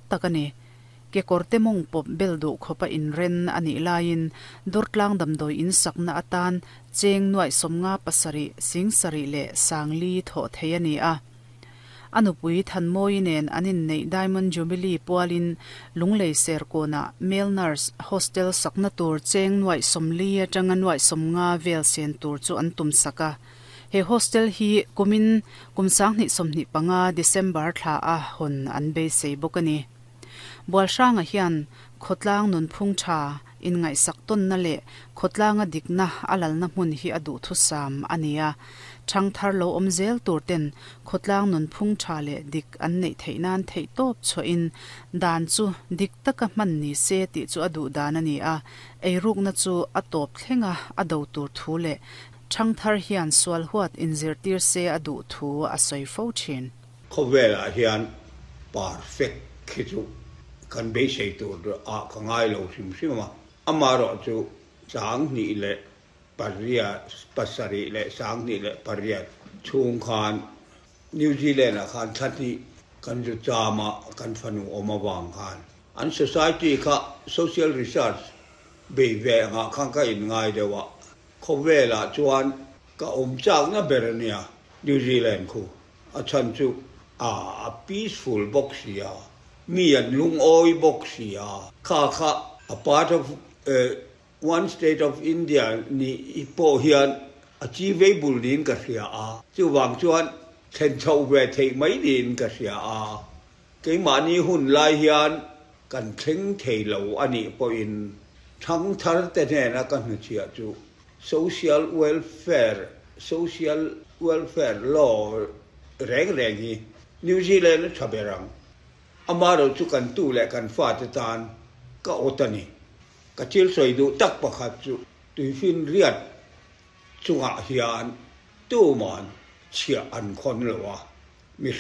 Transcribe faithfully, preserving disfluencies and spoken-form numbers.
Tak ani. Ke korte mong pop bel du khopa in ren ani lain Durtlang damdoi in sakna atan cheng nuai somnga pasari sing sari le sangli tho theiani a. Anupui thanmoi nen anin nei Diamond Jubilee pualin lunglei ser kona male nurse hostel sakna tur cheng nuai somli atanga nuai somnga vel sen tur chu an tum saka. He hostel hi kumin kumsang ni somni panga December thla a hon an be sei bokani. Bualhranga hian khotlang nun phung tha in ngai sak ton na le khotlanga dikna alal na hmun hi adu thu sam ania. Thang thar lo om zel tur ten khotlang nun phung tha le dik an nei theinan thei top cho in dan chu dik taka man ni se ti chu adu dan ani a. Eiruk na chu atop thlenga ado tur thu le thang thar hian sual huat in zir tir se adu thu a soi fo thin. Khowela hian perfect khi chu kan be sei tur a ka ngai lo sim sim ma amaro chu chang ni le paria pasari le sang ni le paria chung khan New Zealand a khan thati kan ju chama kan fanu oma wang khan an society kha social research be ve nga khan ka in ngai dewa khowela chuan ka om chak na berania New Zealand khu a chan chu a peaceful box ya mi an lung oi box ya kha kha a part of uh, one state of India ni ipo hian achievable din ka ria a chu wang chuan then chau ve thei mai din ka ria a ke ma ni hun lai hian kan thleng thei lo ani po in thang thar te ne na kan chia chu social welfare social welfare law reng reng hi New Zealand thaberang amaro chu kan tu le kan fa te tan ka otani ka chil soi du tak pakhat chu tuifin riat chunga hian tu man chia an khon lo wa mi